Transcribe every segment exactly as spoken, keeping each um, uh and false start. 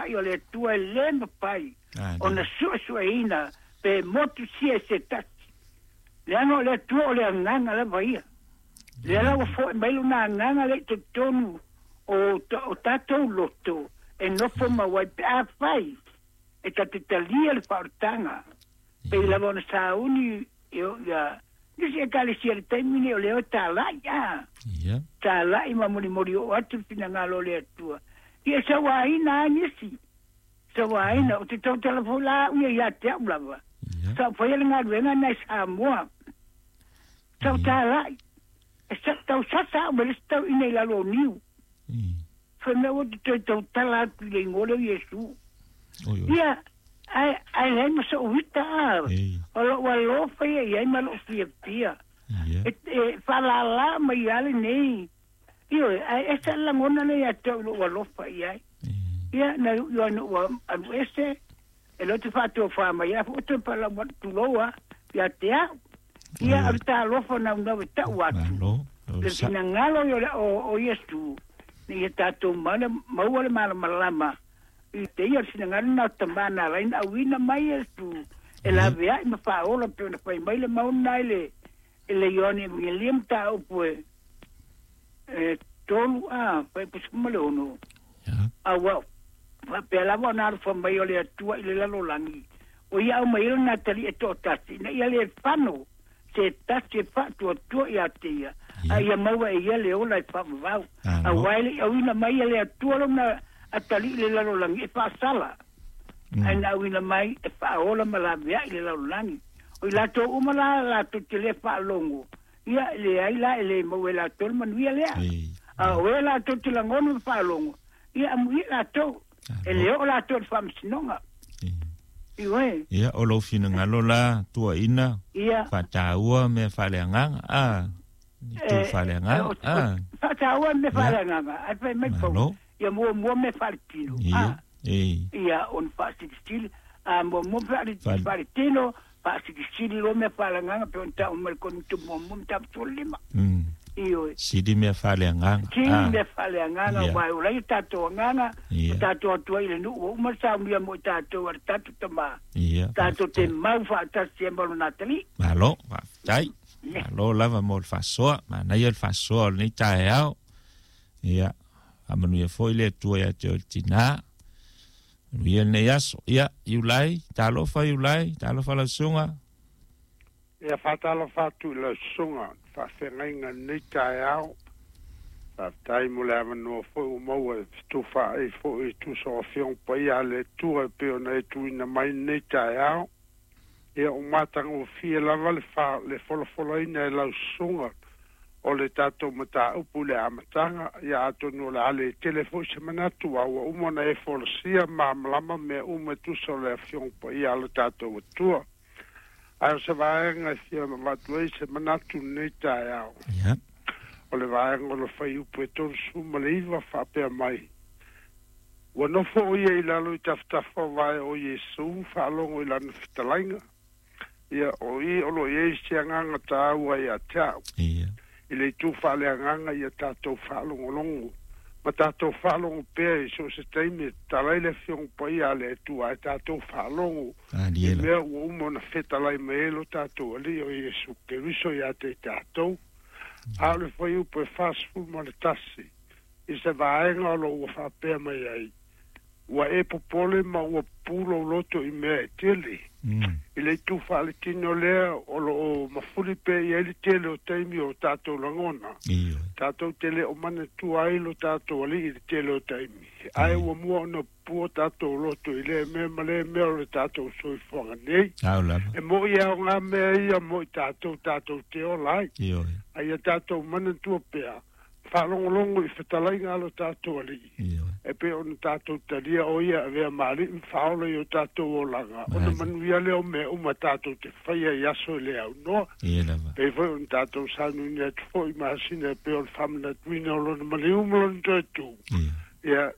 fetalai o le Atua e lē mafai ona su'esu'eina pe motusia e se tasi leaga o le Atua o le agaga lava ia lea la ua fo'i mai lona agaga le i totonu o o tatou loto e nofo mau ai pe afai e tate talia le faaolataga pei lava ona sauni ia nisi ekalesia le taimi nei o lea o tala'i a tala'i ma molimoli oo atu le finagalo o le Atua ia sauaina a nisi sauaina o te tautala foi la a'u ia ia te a'u lava sa ou faia le galuega na i Samoa sa ou tala'i e sa tausasa a'u ma le isi tauina i lalo o niu fai mea ua te toe tautala atu i le igoa lea o Iesu ia ae ae leai ma so'u ita a o lo'u alofa ia i ai ma lo'u fiafia e, e faalalā mai a lenei ioe ae ese le lagona lea ia te au i lo'u alofa i ai ia na iuʻi ai noʻu alu ese e leo te faatofā mai ai foʻi toe palau atu tulou a ia te au ia o le talofa naunau e ta'u atu le finagalo o le o, o Iesu ina ia tatou maua le malamalama i te ia o le finagalo na o tamā na ala ai na auina mai Iesu e lavea'i ma faaola pe ona fai mai le mauna i le i le Ioane Evagelia mataupu e e tolu a fuaiupu ma le ono auā faapea lava ona alofa mai o le Atua i le lalolagi o ia aumai ai lona atalii e to'atasi ina ia lē fano se tasi e fa'atuatua iā te ia a ia maua e ia le ola e fa'avavau auā e le'i auina mai e le Atua lona atalii i le lalolagi e fa'asala ae na auina mai e fa'aola ma lavea'i le lalolagi o i latou uma la latou te lē fa'alogo ia e leai la e lē maua e latou le manuia lea a o e latou te lagona ma fa'alogo ia amuia latou e lē o'o latou i le fa'amasinoga ioe Ia o lou finagalo la tuuaina ia faataua mea faaleagaga a itu faaleagaga a faataua mea ia faaleagaga ae fai mai pau malo ia muamua mea faaletino ia a e ia ona faasilisili a muamua Faale faaletino faasilisili loa mea faaleagaga pe ona ta'u mai le Korinito muamua mataupu tolu lima mm ioe sili mea faaleagaga sili a mea faaleagaga ia uā e ola ai tatou agaga o ia tatou atu ai i le nu'u ua uma le saunia mo i tatou a le tatou tamā ia tatou te faafetai mau fa'atasi ai ma lona atalii malo faafetai ia malo lava mo le faasoa manaia le faasoa o lenei taeao ia faamanuia foi le Atua ia te oe le tinā manuia lenei aso ia Iulai talofa Iulai talofa lau susuga Ia faatalofa atu i lau susuga faafeagaiga i lenei taeao. Faafetai mo le avanoa foi ua maua e fetufaai foi e tusa o Afioga Paia a le Atua e pei ona e tuuina mai lenei taeao. Ia ua matagofie lava le fa le folafolaina e lau susuga o le tatou mataupu i le amataga. Ia atonu o le a le tele foi se manatu a ua uma ona e folasia malamalama mea uma e tusa o le Afioga Paia a le tatou Atua. Ae o se vaega e fia avatu ai se manatu i lenei taeao. ia O le vaega o le fuaiupu e tolusefulu ma le iva faapea mai. Ua nofo o ia i lalo i tafatafa o vae o Iesu faalogo i lana fetalaiga. Ia o i o lo o i ai se agaga taua ia te a'u. ia I le itu faaleagaga ia tatou faalogologo ma tatou faalogo pea i so o se taimi e tatala ai le Afioga Paia a le Atua ae tatou faalogo i aliela mea ua uma ona fetalai mai ai lo tatou Alii o Iesu Keriso ia te i tatou. A o le fuaiupu e fasefulu ma le tasi i se vaega o lo o ua faapea mai ai. Ua e popole ma ua pupū lou loto i mea e tele. mm I le itu faaletino lea o lo o mafuli pea i ai le tele o taimi o tatou lagona. ioe Tatou te le o manatua ai lo tatou Alii i le tele o taimi. Ae ua mua ona pupū o tatou loto i lea mea ma lea mea o le tatou soifuaga nei. ao lava E mo'i e aogā mea ia mo i tatou tatou te ola ai. ioe A ia tatou manatua pea, faalogologo i fetalaiga a lo tatou Alii. ioe E pei ona tatou talia o ia e avea ma Alii ma Faaola i o tatou olaga. Ona Mali. manuia lea o mea uma tatou te faia i aso e le aunoa. ia lava Pei foi ona tatou saunoaina atu foi i masina e pei o le faamanatuina o lona maliu ma lona toe tu. ia Ia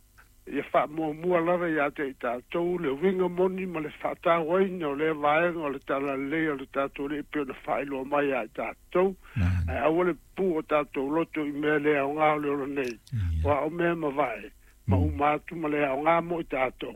ia faamuamua lava ia te i tatou le uiga moni ma le faatauaina o lea vaega o le talalelei o le tatou Alii e pei ona faailoa mai ia i tatou. mali Ae aua le pupū o tatou loto i mea le aogā o le ola nei. ia Aua o mea mavae ma uma atu ma le aogā mo i tatou.